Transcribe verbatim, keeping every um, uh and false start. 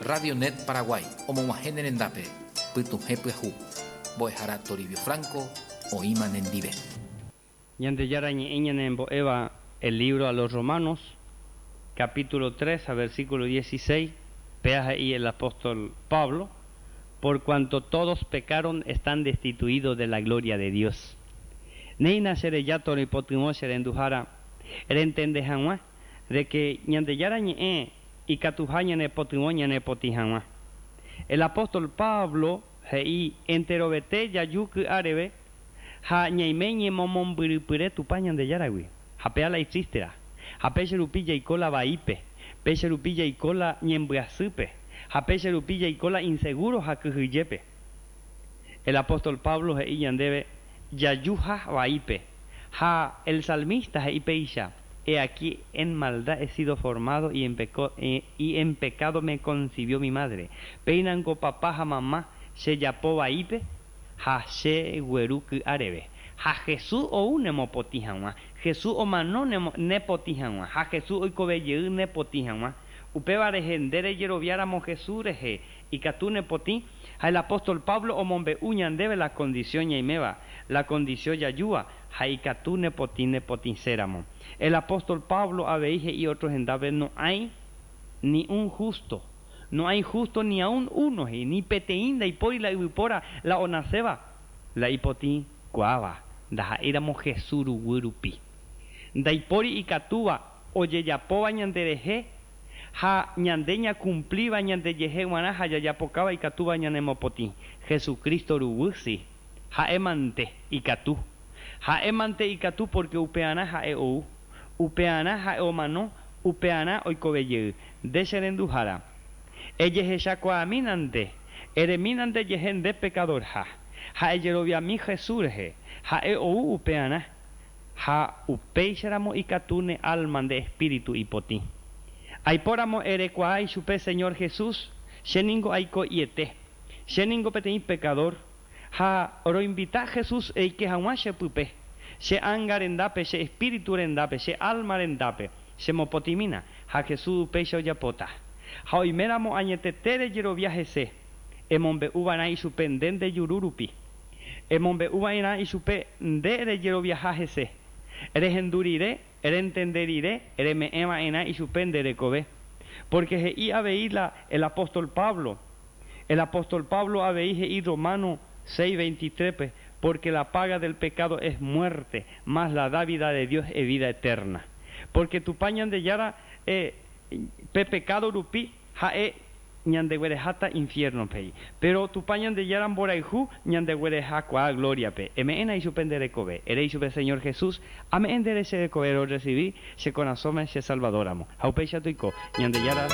Radio Net Paraguay, omog̃uahẽ ne rendápe, pytuhẽ pyahu. Mbo'ehára Toribio Franco, oĩma nendive. Ñandejára ñe'ẽ ñanembo'éva el libro a los Romanos, capítulo tres, a versículo dieciséis, péa he'i el apóstol Pablo, por cuanto todos pecaron, están destituidos de la gloria de Dios. Néina chereja toipytyvõ che renduhára rentende hag̃ua de que Ñandejára ñe'ẽ ikatuha ñanepytyvõ ñanepotĩ hag̃ua. El apóstol Pablo he'i enterovete jaju ky'áreve ha ñaime ñemomombyrypyre Tupã Ñandejáragui. Ha péa la itristera. Ha péicha rupi jaiko la vaípe, péicha rupi jaiko la ñembyasýpe, ha péicha rupi jaiko la inseguro ha kyhyjépe. El apóstol Pablo he'i ñandéve jajuha vaípe. Ha el salmista he'i péicha, he aquí en maldad he sido formado y en, peco, eh, y en pecado me concibió mi madre. Péinango papá ha mamá chejapo vaípe ha chegueru ky'áreve. Ha Jesús ou nemopotĩ hag̃ua. Jesús omano nepotĩ hag̃ua. Ha Jesús oikovejey nepotĩ hag̃ua. Upéva rehe nde rejeroviáramo Jesús rehe ikatu nepotĩ. Ha el apóstol Pablo omombe'u ñandéve la condición ñaiméva, la condición jajúva ha ikatu nepotĩ nepotĩséramo. El apóstol Pablo avei he'i otro hendápe no hay ni un justo. No hay justo ni aun uno, he'i, ni peteĩ ndaipóri la yvypóra la onaséva la ipotĩ kuaáva ndaha'éiramo Jesús ruguy rupi. Ndaipóri ikatúva ojejapóva ñanderehe ha ñande ñacumplíva ñandejehe g̃uarã ha jajapokáva ikatúva ñanemopotĩ. Jesucristo ruguy si. Ha'e mante ikatu. Ha'e mante ikatu porque upearã ha'e ou. Upearã ha'e omano, upearã oikovejey. Nde che renduhára. Ejehechakuaamínante, eremínante jehe nde pecadorha. Ha ejeroviami Jesús rehe. Ha'e ou upearã. Ha upéicharamo ikatu ne alma nde espíritu ipotĩ. Aipóramo erekuaa ichupe Señor Jesús, che ningo aiko'iete. Che ningo peteĩ pecador. Ha roinvita Jesús eike hag̃ua che pype. Che ánga rendápe, che espíritu rendápe, che alma rendápe. Chemopotĩmína. Ha Jesús upéicha ojapóta. Ha oiméramo añetete rejerovia hese. Emombe'uva'erã ichupe nde nde juru rupi. Emombe'uva'erã ichupe nde rejeroviaha hese. Rehendu rire, rentende rire, reme'ẽva'erã ichupe nde rekove. Porque he'i avei la, el apóstol Pablo. El apóstol Pablo avei he'i Romano seis veintitrés, porque la paga del pecado es muerte, mas la dávida de Dios es vida eterna. Porque Tupã Ñandejára eh, pe pecado rupi ha'e ñandeguerehata infierno pe. Pero Tupã Ñandejára mborayhu ñandeguerehakuaa gloria pe. Eme'ẽna ichupe nde rekove. Ere ichupe Señor Jesús, ame'ẽ nde che rekove ro recibí che korasõme che Salvadoramo. Ha upéicha toiko Ñandejára.